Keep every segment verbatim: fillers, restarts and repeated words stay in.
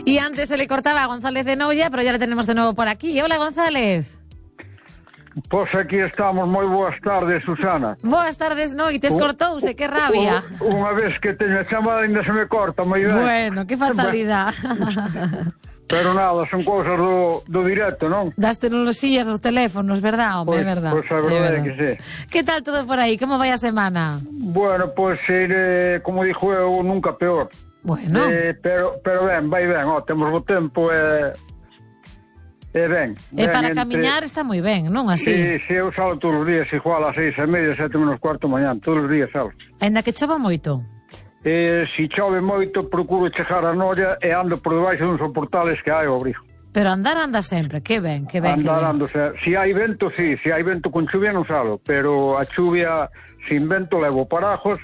Y antes se le cortaba a González de Noia, pero ya le tenemos de nuevo por aquí. Hola, González. Pois aquí estamos, moi boas tardes, Susana. Boas tardes, noites, cortouse, que rabia. Unha vez que teño a chamada ainda se me corta, moi ben. Bueno, que fatalidade. Pero nada, son cousas do, do directo, non? Das tecnoloxías dos teléfonos, verdad, home, pois, é verdad. Pois a verdade é que sí. Que tal todo por aí? Como vai a semana? Bueno, pois, eh, como dixo eu, nunca peor. Bueno. Eh, pero, pero ben, vai ben, ó, temos bo tempo e... Eh... E ben, e ben para entre... camiñar está moi ben, non así? Sí, sí, eu salo todos os días igual a seis e media, sete menos cuarto mañán, todos os días salo. Ainda que chova moito? E se chove moito, procuro chegar a Noia e ando por debaixo duns soportales que hai ao abrigo. Pero andar anda sempre, que ben, que ben, andar, que ben. Ando, se, se hai vento, sí, se hai vento con chuvia non salo, pero a chuvia sin vento levo parajos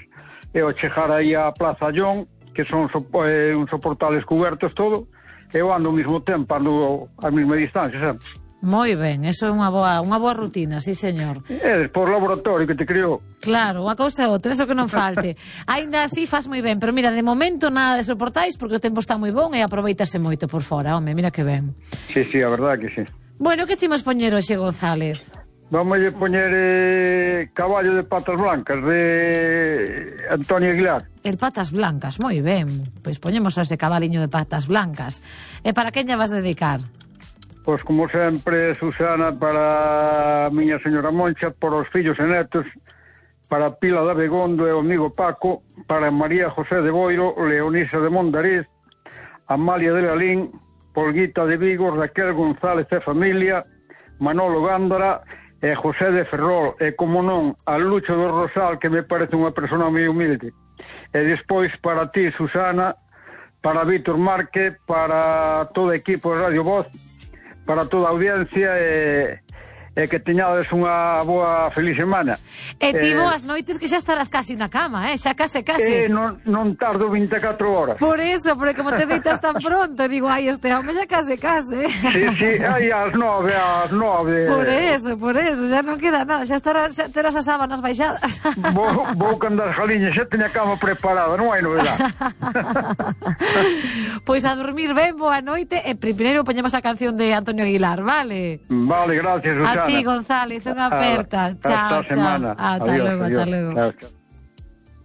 e ao chegar aí a Plaza Llón, que son so, eh, uns soportales cubertos todo, eu ando ao mesmo tempo, ando a mesma distancia, sempre. Moi ben, eso é unha boa, unha boa rutina, sí, señor. É por laboratorio que te criou. Claro, unha cousa e outra, eso que non falte. Ainda así faz moi ben, pero mira, de momento nada de soportais porque o tempo está moi bon e aproveitase moito por fora, home, mira que ben. Sí, sí, a verdade que sí. Bueno, que chimos poñer hoxe, González? Vamos a poñer eh, Caballo de Patas Blancas, de Antonio Aguilar. El Patas Blancas, moi ben. Pois poñemos ese cabaliño de Patas Blancas. E para quen lle vas dedicar? Pois como sempre, Susana, para a miña señora Moncha, por os fillos e netos, para Pila de Abegondo e o amigo Paco, para María José de Boiro, Leonisa de Mondariz, Amalia de Lalín, Polguita de Vigo, Raquel González e familia, Manolo Gándara e José de Ferrol, e como non, a Lucho do Rosal, que me parece unha persona moi humilde. E despois para ti, Susana, para Víctor Márquez, para todo o equipo de Radio Voz, para toda a audiencia e, e que teñades unha boa feliz semana. E ti eh, boas noites que xa estarás casi na cama, eh? Xa case, case. Eh, non, non tardo vinte e catro horas. Por eso, porque como te deitas tan pronto, digo, ai, este home xa case, case. Sí, sí, aí ás nove, ás nove. Por eso, por eso, xa non queda nada, xa estarás, xa terás as sábanas baixadas. Vou, vou candar as jaliñas, xa teña a cama preparada, non hai novedade. Pois a dormir ben, boa noite, e primeiro poñemos a canción de Antonio Aguilar, vale? Vale, gracias, Susana. A ti, González, unha aperta. Hasta Chao, a semana. chao. Hasta Adiós, luego, adiós. hasta luego. Chao, chao.